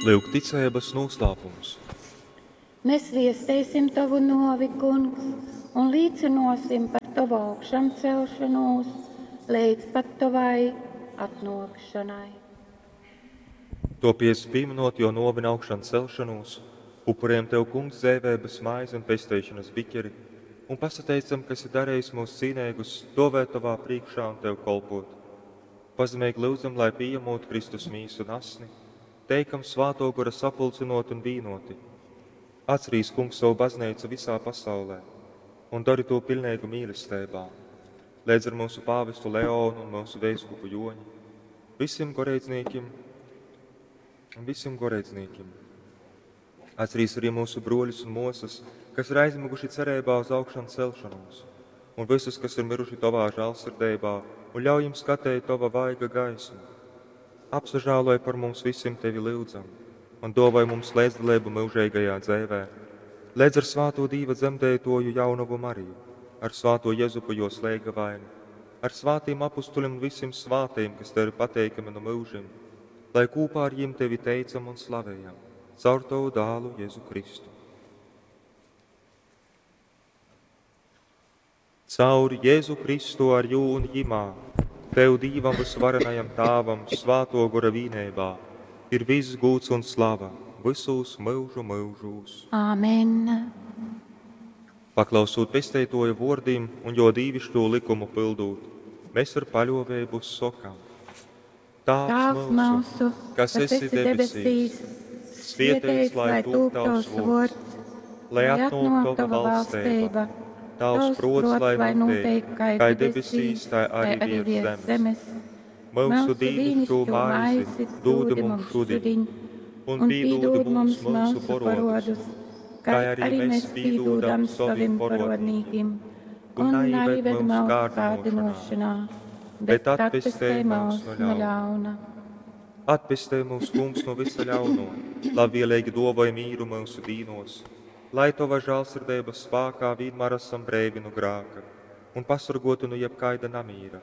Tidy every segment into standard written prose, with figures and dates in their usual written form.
Lyuk ticeibas nūslāpums. Mēs viesteisim tovu nōvi, Kungs, un līcynōsim par tovu augšamcelšanūs leidz pat tovai atnōkšanai. Topiec, pīminot jo nōvi un augšan celšanūs, upurējam Tev, Kungs, dzeiveibas maizi un pesteišanas biķeri, un pasateicam, ka esi darījis mūs cīneigus stovēt Tovā priekšā un Tev kolpot. Pazemeigi lyudzam, lai pījamot Kristus mīsu un asni, teikam Svātō Gora sapulcynot un vīnoti. Atcerīs, Kungs, savu baznīcu visā pasaulē un dari to pilnīgu mīlestībā, līdz ar mūsu pāvestu Leonu un mūsu veiskupu Joņu, visiem goreidznīkim un visiem goreidznīkim. Atcerīs arī mūsu broļus un mosas, kas ir aizmiguši cerībā uz augšanu celšanos, un visus, kas ir miruši Tavā žēlsirdībā, un ļauj jums skatēt Tava vaiga gaismu. Apsažāloj par mums visiem Tevi lyudzam, un dāvāj mums līdzdalību mūžīgajā dzīvē, līdz ar svāto Dīva dzemdētoju jaunavu Mariju, ar svāto Jezupu jo slēgavainu, ar svātiem apustuļiem un visiem svātajiem, kas Tev ir pateikami no mūžiem, lai kopā ar jiem Tevi teicam un slavējam, caur Tavu dālu Jēzu Kristu. Caur Jēzu Kristu ar jū un jimā, Tev Dīvam vysvarenajam Tāvam, svāto gora vīneibā, ir viss gūds un slava visos mūžu mūžūs. Āmen. Paklausūt pesteitoja vōrdim un jo dīvišķo likumu pildūt, mēs ar paļovēbu sokam. Tāvs Tēvs mūsu, mūsu, kas esi debesīs, svētīts lai tūp tavs vārds, lai atnāk tava valstība, tavs prots, lai notiek, kā debesīs, tā arī virs zemes. Mūsu dīnišķo maizi dūdi mums šodien, un pīdūdi mums mūsu porodus, kā arī mēs pīdūdam saviem porodnīkim, un neived mūsu mūsu kārdinošanā, kārdinošanā, bet bet atpestē atpestē mūs mūs no no ļauna. ļauna. Atpestē mūs, Kungs, no visa ļauno, labvēlīgi dāvāj mīru mūsu dīnos, lai Tava žēlsirdības spēkā vienmēr esam breivi no grāka un pasargoti no jebkaida namīra,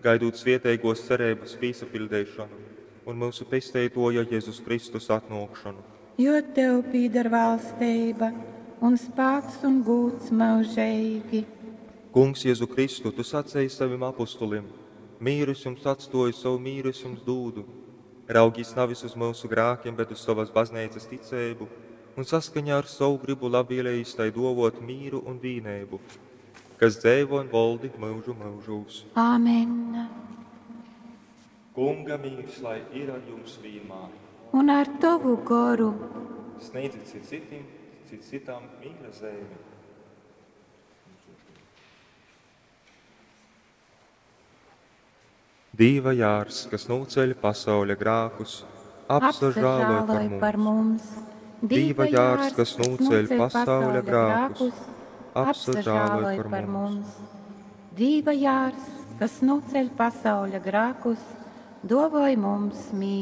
gaidot svietēgos cerības pīsapildīšanu un mūsu pesteitoja Jēzus Kristus atnākšanu. Jo tev pīdar valstība un spēks un gūts mūžīgi. Kungs, Jēzu Kristu, tu sacīji saviem apustulim: Mīru es jums atstoju, savu mīru es jums dūdu. Raugīs nevis uz mūsu grākiem, bet uz savas baznīcas ticību, un saskaņā ar savu gribu labvēlējis tai dovot mīru un vīnēbu, kas dzēvo un valdi mūžu mūžūs. Āmen. Kunga mīrs, lai ir ar jums vienmēr. Un ar tavu goru. Sniedziet cit citim, cit citam mīra zemi. Dīva jārs, kas nūceļ pasauļa grākus, apsažāloj par Apsažāloj par mums. mums. Dīva jārs, kas nūceļ pasauļa grākus, apsažāloj apsažāloj par par mums. mums. Dīva jārs, kas nūceļ pasauļa grākus, dovoj mums mīru.